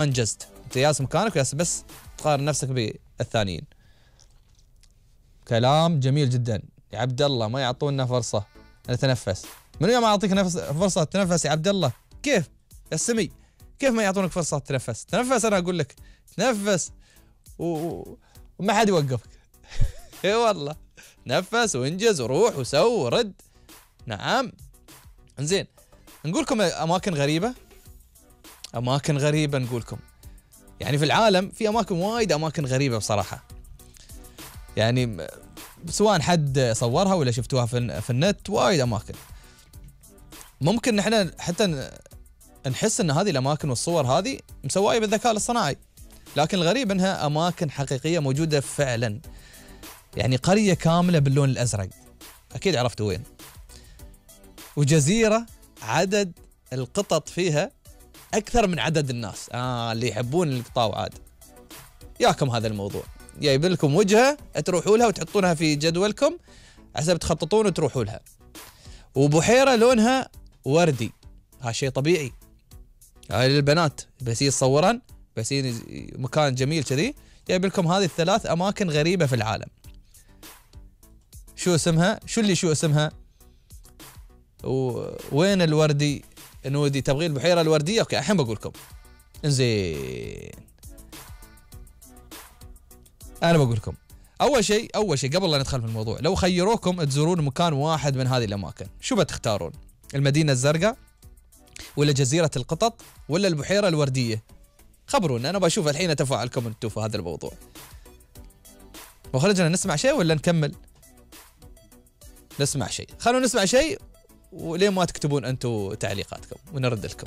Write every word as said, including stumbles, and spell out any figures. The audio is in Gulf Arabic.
انجزت، انت جالس مكانك وجالس بس تقارن نفسك بالثانيين. كلام جميل جدا يا عبد الله، ما يعطونا فرصه نتنفس. من يوم اعطيك نفس فرصه تتنفس يا عبد الله؟ كيف يا السمي؟ كيف ما يعطونك فرصه تتنفس؟ تنفس، انا اقول لك تنفس و... وما حد يوقفك. اي والله، نفس وانجز وروح وسو ورد. نعم. انزين، نقولكم اماكن غريبه. اماكن غريبه نقولكم، يعني في العالم في اماكن وايد، اماكن غريبه بصراحه. يعني سواء حد صورها ولا شفتوها في, في النت، وايد اماكن. ممكن نحن حتى نحس ان هذه الاماكن والصور هذه مسوايه بالذكاء الاصطناعي، لكن الغريب انها اماكن حقيقيه موجوده فعلا. يعني قريه كامله باللون الازرق، اكيد عرفتوا وين. وجزيره عدد القطط فيها اكثر من عدد الناس. اه اللي يحبون القطاو عاد ياكم هذا الموضوع. جايب لكم وجهه تروحوا لها وتحطونها في جدولكم حسب تخططون وتروحوا لها. وبحيره لونها وردي، هذا شيء طبيعي. هاي للبنات بس يتصورن، بس مكان جميل كذي. جايب لكم هذه الثلاث اماكن غريبه في العالم. شو اسمها؟ شو اللي شو اسمها؟ وين الوردي نودي؟ تبغين البحيره الورديه؟ اوكي الحين بقول لكم. انزين، انا بقول لكم اول شيء اول شيء قبل لا ندخل في الموضوع، لو خيروكم تزورون مكان واحد من هذه الاماكن، شو بتختارون؟ المدينه الزرقاء ولا جزيره القطط ولا البحيره الورديه؟ خبرونا، انا بشوف الحين تفاعلكم انتم في هذا الموضوع. وخرجنا نسمع شيء ولا نكمل؟ نسمع شيء، خلونا نسمع شيء ولين ما تكتبون انتم تعليقاتكم ونرد لكم.